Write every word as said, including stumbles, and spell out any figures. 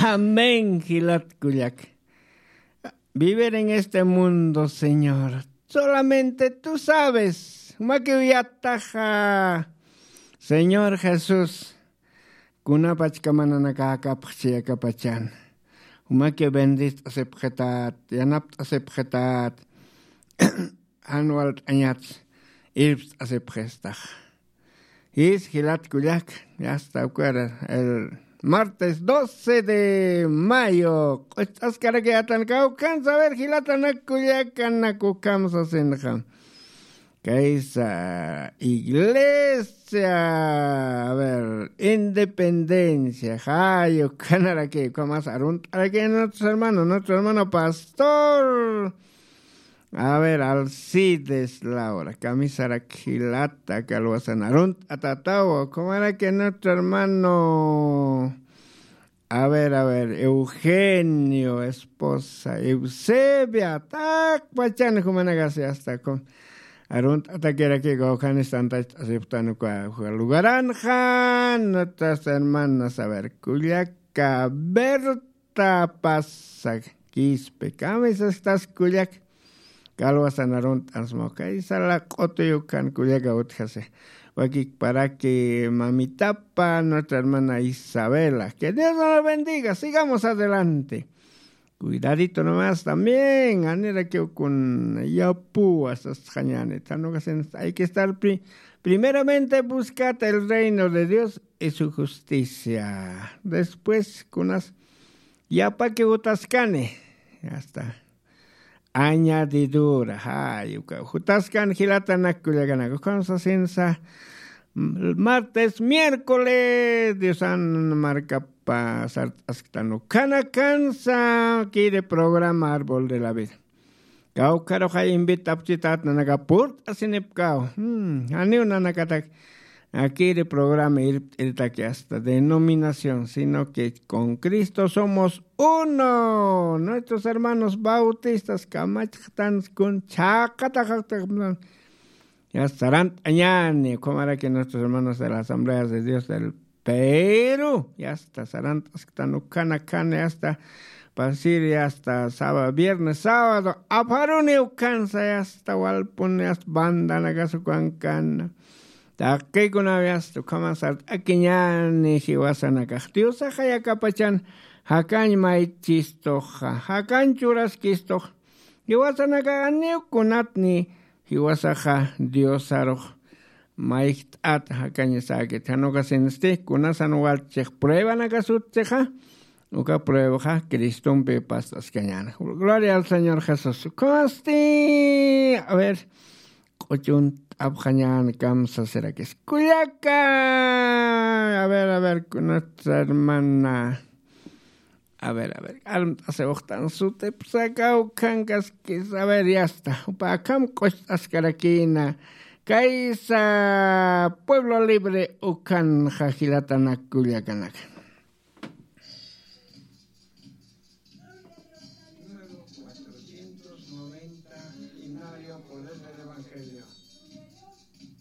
Amén, jilat kullak. Vivir en este mundo, Señor. Solamente tú sabes. Jumakiw yataxa, Señor Jesús. Kunapachka mananakakapxchi akapachan. Jumaki bendist'asipxitat, yanapt'asipxitat. Jan walt'añat irpst'asipxistax. Jis jilat kullak, ya está, uka el martes doce de mayo. Q'ucht'askarakiyatan kawkan saber jilatanak kullakanak ukham sasinxa. Kaysa iglesia, a ver, independencia, jay ukhanaraki, ukhamas arunt'araki nuestro hermano, nuestro hermano pastor. A ver, Alcides Laura, kamisarak jilata, kalwasan arunt'atatawa, ukhamaraki nuestro hermano. A ver, a ver, Eugenio, esposa, Eusebia, takpachan jumanakasi hasta kun. Arunt'atakiraki kawkhanis tantach asiptan uka lugaranxa, nuestras hermanas, a ver, kullaka, Berta Pasa, Quispe, kamisas tas kullak. Kalwasan arunt'ansma, kaysa laq'utuyukan kullaka utjasi. Wakikparaki mamitapa, nuestra hermana Isabela. Que Dios nos la bendiga. Sigamos adelante. Cuidadito nomás también. Anirakiw kun yapuwa sasxañani. Tanukasin hay que estar pri-, primeramente buscad el reino de Dios y su justicia. Después, kunas yapaki utaskani. Ya está. Añadidura, jay, uka, jutaskan jilatanak kullakanak, ukham sasinsa, m-, martes, miércoles, Diosan markapa sart'asktan ukhanakansa, kiri programa Árbol de la Vida. Kawkharux jay invitapchitat nanaka purt'asinipkaw. Hmm, janiw nanakatak akiri programa irpt'iritaki hasta denominación, sino que con Cristo somos uno. Nuestros hermanos bautistas kamachxtan kun chhaqataxaktaxman. Ya sarant'añani, ukhamaraki nuestros hermanos de la Asamblea de Dios del Perú, ya está, sarant'asktan ukhanakan, ya está, pasir, ya está, sábado, viernes, sábado, apharuni ukhansa, ya está, walpuni, ya está, bandanakas ukankan. Taqikunaw ya está, ukhama sart'akiñani jiwasanakax. Diosaxa yakapachan jakañ maychistuxa, jakañ churaskistuxa. Jiwasanakax janiw kunatni jiwasaxa Diosarux mayjt'at jakañasäkit. Jan ukasinsti kunasan waltchix pruebanakas utjchixa, uka pruebaxa Cristompi past'askañäna. Gloria al Señor Jesús. Ukhasti, a ver, q'uchunt'apxañäna kamsasirakis. Kullaka, a ver, a ver, nuestra hermana. A ver, a ver, armt'asiwxtan sutipsa kawkhankaskis. A ver, ya está. Jupa akham q'ucht'askarakïna. Kaysa Pueblo Libre ukhanxa jilatanak kullakanak.